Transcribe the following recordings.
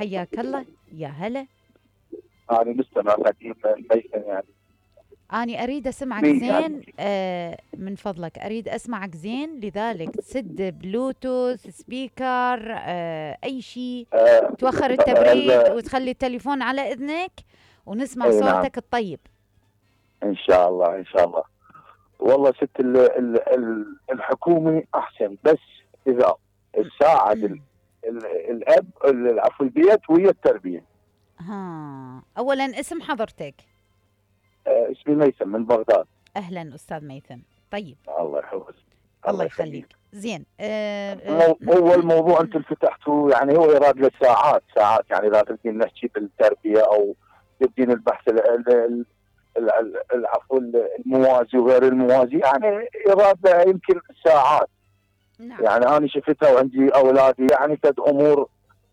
حياك الله. يا هلا. أنا مستمع قديم ميسن يعني. أنا أريد أسمعك مين يعني؟ زين، من فضلك أريد أسمعك زين، لذلك تسد بلوتوث سبيكر، أي شيء، آه توخر التبريد ال- وتخلي التليفون على إذنك ونسمع اي نعم، صوتك الطيب. ان شاء الله ان شاء الله. والله ست الحكومي احسن، بس اذا تساعد الاب عفوا البيت ويا التربيه. ها، أولا اسم حضرتك؟ اسمي ميسم من بغداد. أهلا أستاذ ميثم. طيب، الله يحفظك. الله الله يخليك. يخليك. زين. هو الموضوع انتم فتحتوه، يعني هو يراد له ساعات ساعات، يعني اذا تبدين نحكي بالتربيه او تبدين البحث العفو الموازي وغير الموازي، يعني يراد له يمكن ساعات. نعم. يعني انا شفتها وعندي اولادي، يعني كانت امور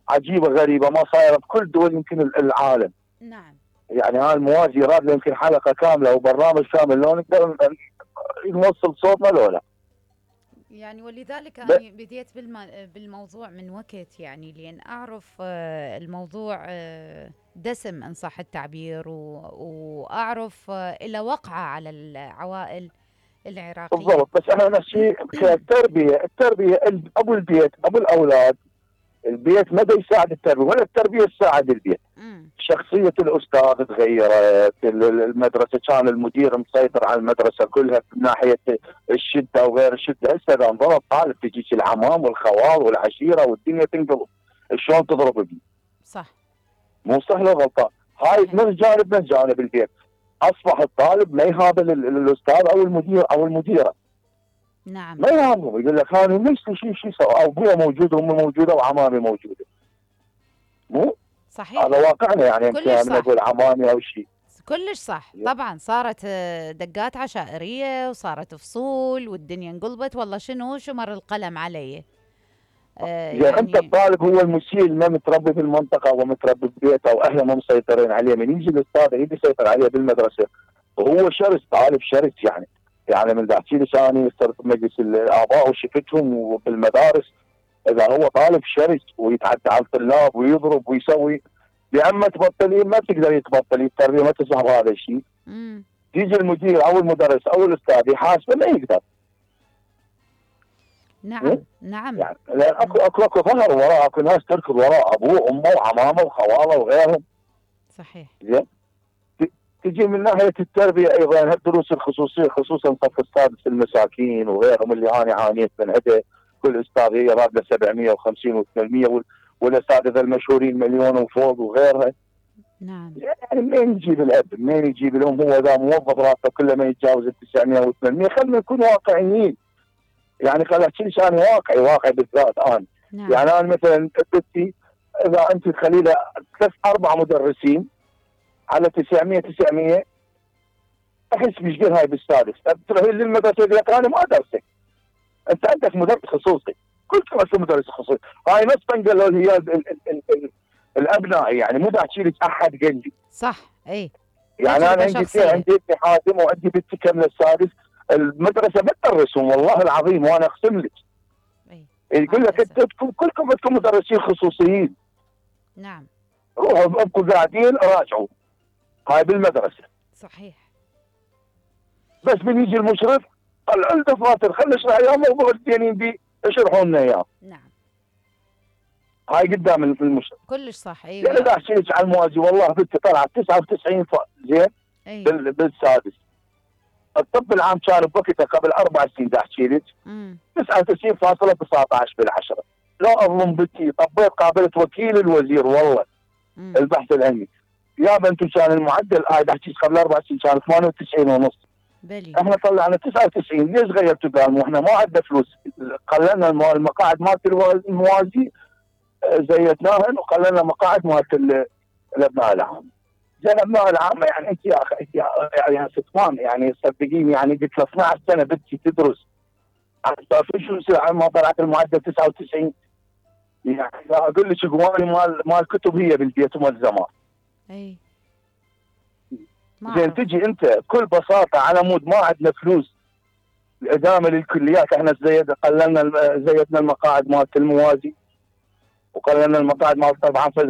عجيبه غريبه ما صايره بكل دول يمكن العالم. نعم. يعني هاي الموازي يراد له يمكن حلقه كامله وبرنامج كامل لو نقدر نوصل صوتنا لولا. يعني ولذلك أنا بديت بالموضوع من وقت، يعني لأن أعرف الموضوع دسم إن صح التعبير، وأعرف إلى وقعة على العوائل العراقية. بالضبط، بس احنا نفس الشيء التربيه ابو البيت ابو الاولاد. البيت ما يساعد التربيه ولا التربيه تساعد البيت. شخصيه الاستاذ تغيرت، المدرسه كان المدير مسيطر على المدرسه كلها من ناحيه الشده وغير الشده. هسه اذا انضرب طالب تجيك العمام والخوال والعشيره والدنيا تنقلب. شلون تضرب ابني؟ صح. مو سهله غلطان. هاي من جانب البيت. اصبح الطالب ما يهابل الاستاذ او المدير او المديره. نعم. ما يهمه، يقول لك انا ليش شيء سوى، ابويا موجود وامي موجوده وعمامي موجوده. مو صحيح. هذا واقعنا، يعني كلش صح. نقول عمامي او شيء. كلش صح. طبعا صارت دقات عشائريه وصارت فصول والدنيا انقلبت، والله شو مر القلم علي. يعني انت الطالب هو المسيء، ما متربي في المنطقه ومتربي في بيته واهله ما مسيطرين عليه، من يجي الاستاذ يجي يسيطر عليه بالمدرسه وهو شرس، طالب شرس يعني. يعني من بحكي لك انا صرت بمجلس الاباء وشفتهم وبالمدارس، اذا هو طالب شرس ويتعدى على الطلاب ويضرب ويسوي، يا اما تبطلين ما تقدر يتبطل، التربيه ما تسمح بهذا الشيء. يجي المدير او المدرس او الاستاذ يحاسبه ما يقدر. نعم. نعم. يعني لان اكو ظهر وراء، اكو ناس تركض وراء ابوه وامه وعمامه وخواله وغيرهم. صحيح. زين. تجي من ناحيه التربيه ايضا الدروس الخصوصيه، خصوصا صف السادس المساكين وغيرهم اللي انا عانيت من عده. كل استاذ يراد له 750 و800، والاساتذه المشهورين مليون وفوق وغيرها. نعم. يعني منين يجيب الاب؟ منين يجيب الام؟ هو اذا موظف راتبه كله ما يتجاوز ال 900 و800. خلينا نكون واقعيين. يعني خليني احكي لك انا واقعي بالذات انا. نعم. يعني انا مثلا بنتي اذا انت تخلي لها 3-4 مدرسين على 900 احس بيشقل هاي بالسادس. تروحين للمدرسه يقول لك انا ما ادرسك، انت عندك مدرس خصوصي، كلكم اسمه مدرس خصوصي. هاي نص قالوا هي الابناء، يعني مو بحكي لك احد قال لي. صح. اي يعني انا عندي ابني حاتم وعندي بنتي كامله السادس، المدرسه ما تدرسهم والله العظيم وانا اقسم لك. يقول لك انتم كلكم عندكم مدرسين خصوصيين. نعم. روحوا ابقوا قاعدين راجعوا. هاي بالمدرسه. صحيح. بس من يجي المشرف طلعوا الدفاتر، خلينا نشرح اياه موضوع الدينين بي اشرحوا لنا اياه. نعم. هاي قدام المشرف. كلش صح. ايوه. يعني اذا احكي لك على الموازي والله بنتي طلعت 99 زين. أيوة. بالسادس. الطب العام كان بوقتها قبل 4 سنين دا احكي لك 99.19 بالعشره. لو اظلم بنتي طبيت قابلت وكيل الوزير والله. البحث العلمي يا بنتي كان المعدل دا احكي قبل 4 سنين كان 98.5. احنا طلعنا 99. ليش غيرتوا قالوا احنا ما عندنا فلوس؟ قللنا المقاعد مالت الموازي زيدناهن وقللنا مقاعد مالت الابناء العام. زين الابناء العامه يعني انت يا اخي يعني ستمان يعني صدقيني يعني قلت له 12 سنه بنتي تدرس شو يصير ما طلعت المعدل 99؟ يعني اقول لك قواني مال كتب هي بالبيت وملزمات. اي زين تجي انت بكل بساطه على مود ما عندنا فلوس الادامه للكليات. احنا زيدنا المقاعد مالت الموازي وقللنا المقاعد مالت طبعا